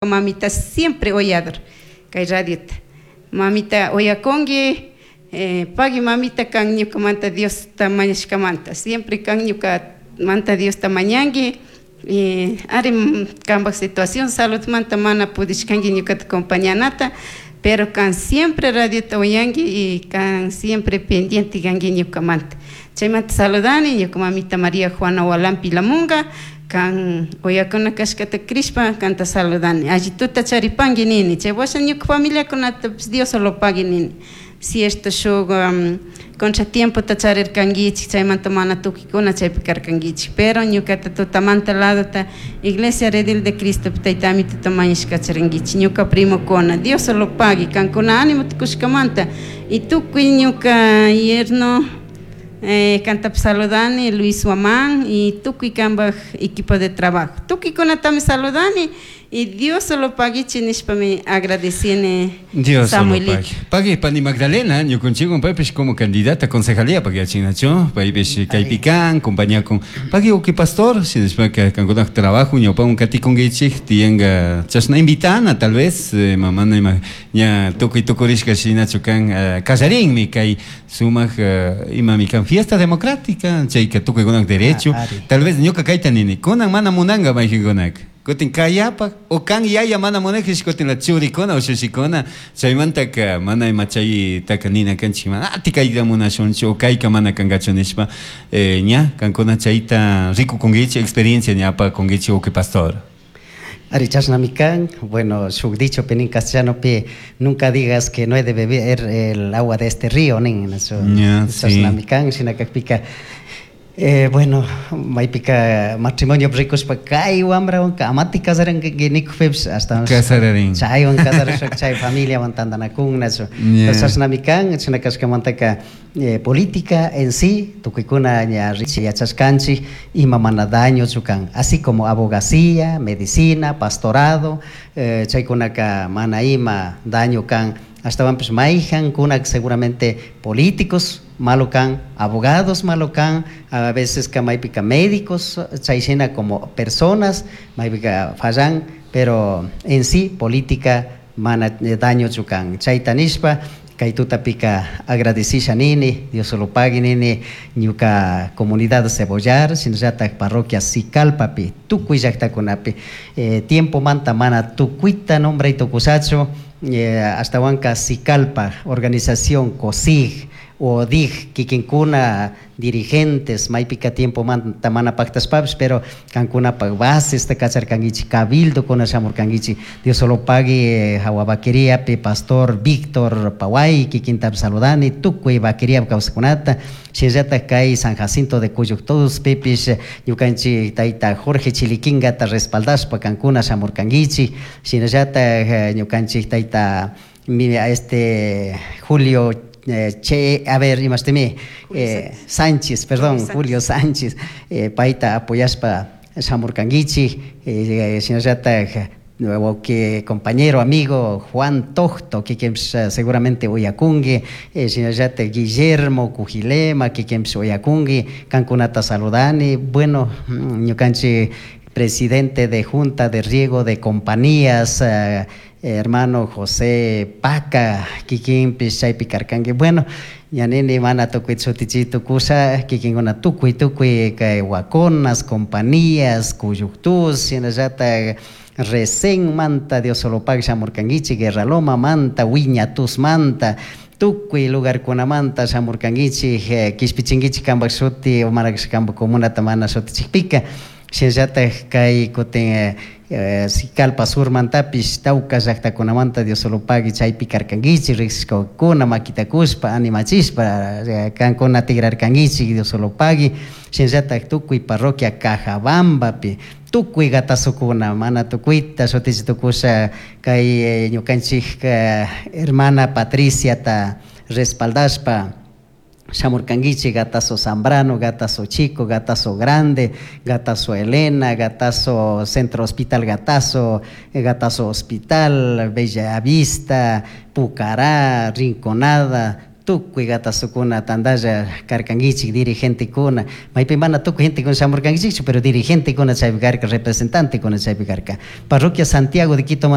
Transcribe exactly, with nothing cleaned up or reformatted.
Mamita siempre oyador kay radiota. Mamita oyakunki, eh, pagui mamita kan ñukamanta Diosta mañashkamanta. Siempre kan ñukamanta Diosta mañanki. Eh, ari kanpak situación saludmanta mana pudishkanki ñukata acompañanata, pero kan siempre radiota oyanki y kan siempre pendiente kanki ñukamanta. Chaymanta saludani ñuka mamita María Juana Walampi Lamunga, kan oyakuna kashkata crishpa kanta saludani. Allituta charipanki nini, chay washa ñuka familiakunatapish Dios lo pagui nini. Cierto shuk um, contratiempota charirkankichik, chaymanta mana tukuykuna chaypi karkankichik, pero ñukata tutamanta ladota Iglesia Redil de Cristo tayta Amituta mañashka charinkichik, ñuka primokuna, Dios lo pagui, kankuna ánimo tukushkamanta y tukuy ñuka yerno eh, kantapi saludani Luis Huamán y tukuy kanpak equipo de trabajo, tukuykunatami saludani y Dios lo paguichi nishpami agradecini. Dios lo Samuelito. pague. Pagui pani Magdalena, ñukunchikwan paypish como candidata a concejalía pagui achinachu, paypish kaypi kan, compañía con pagui uki pastor, shinashpaka kankunaj trabajo ñawpawan katikunkichik, tiyanka chashna invitana tal vez, eh, mamana ima ña tukuy tukurishka shinachu kan, eh, kallarinmi kay sumak eh, imami kan fiesta democrática, chayka tukuykunak derecho, Ah, ari. Tal vez ñuka kayta nini, kunan mana munanka mayqinkunaka. Kutin kayapak o kan yaya mana munakish kutin la churikuna o shushikuna chaymantaka mana ima chaytaka nina kanchik mana ati kayta munashunchu o kayka mana kankachu nishpa, eh, ña kankuna chayta rikukunkichik, experiencia ña apakunkichik, uki pastor. Ari, chashnami kan, bueno, shuk dicho nin castellano pi, nunca digas que no he de beber el agua de este río, nin, eso, Ya, sí. Chashnami kan, shinakakpika, eh, bueno, maypika matrimonio rikushpa kay wambrawanka amati kasaranki nikukpipish hasta Kasararin. Chaywan kasarashpa chay familiawan tantanakun, nachu. Ya. Chashnami kan, chashna kashkamantaka eh, política en sí, tukuykuna ña yachashkanchik ima mana dañochu kan, así como abogacía, medicina, pastorado, eh, chaykunaka mana ima daño kan, ashtawanpish mayjankuna seguramente políticos malo kan, abogados malo kan, a veces ka maypika médicos, chay shina como personas, maypika fallan, pero en sí política mana eh, dañochu kan. Chayta nishpa, kay tutapika agradecisha nini, Dios lo pague nini, ñuka comunidad Cebollar, shinallatak parroquia Sicalpapi, tukuy llaktakunapi, eh, tiempo manta mana tukuyta nombray tukushachu, eh, ashtawanka Sicalpa, organización COSIG, o D I G, kikinkuna dirigentes, maypika tiempo manta mana paktashpapish, pero kankunapak bases ta kacharkankichik, cabildo kuna shamurkankichik, Dios lo pague, eh, hawa vaqueriapi pastor Víctor Paway, kikintapish saludani, tukuy vaqueria kawsaqkunata, shinallatak kay San Jacinto de Cuyuctuspipish, ñukanchik tayta Jorge Chiliquingata respaldashpa kankuna shamurkankichik, shinallatak eh, ñukanchik tayta mi, este Julio eh, che, a ver, imashtimi, eh, Sánchez, perdón, Julio Sánchez, eh, payta apoyashpa shamurkankichik, eh, shinallatak nuevo que compañero, amigo Juan Tocto, kikinpish eh, seguramente uyakunki, eh, shinallatak Guillermo Cujilema, kikinpish uyakunki, kankunata saludani, bueno, mm, ñukanchik presidente de Junta de Riego de Compañías, eh, hermano José Paca, kikinpish chaypi karkanki, bueno, ña nini mana tukuy shutichi tukusha, kikinkuna tukuy tukuy kay Huaconas, Compañías, Cuyuctus, shinallatak Recén manta Dios solo pague shamurkankichik, Guerraloma manta, Wiñatus manta, tukuy lugarkunamanta shamurkankichik, eh, kishpichinkichik kanpak shuti, o mana kanpak comunata mana shutichikpika, shinallatak kay kutin eh, eh, Sicalpa Surmantapish tawka llaktakunamanta Dios solo pague chaypi karkankichik, riksishkakuna makita kushpa animachishpa eh, kankuna tigrarkankichik, Dios solo pague, shinallatak tukuy parroquia Cajabambapi, tukuy gatasukuna mana tukuyta shutichi tukusha kay eh, ñukanchik eh, hermana Patriciata respaldashpa shamurkankichik, Gatazo Zambrano, Gatazo Chico, Gatazo Grande, Gatazo Elena, Gatazo Centro Hospital Gatazo, eh, Gatazo Hospital, Bella Vista, Pucará, Rinconada, Tukuy gatasukuna tantalla karkankichik dirigentekuna maypi mana tukuy gentekuna shamurkankichikchu pero dirigentekuna chaypi karka representantekuna chaypi karka parroquia Santiago de Quito.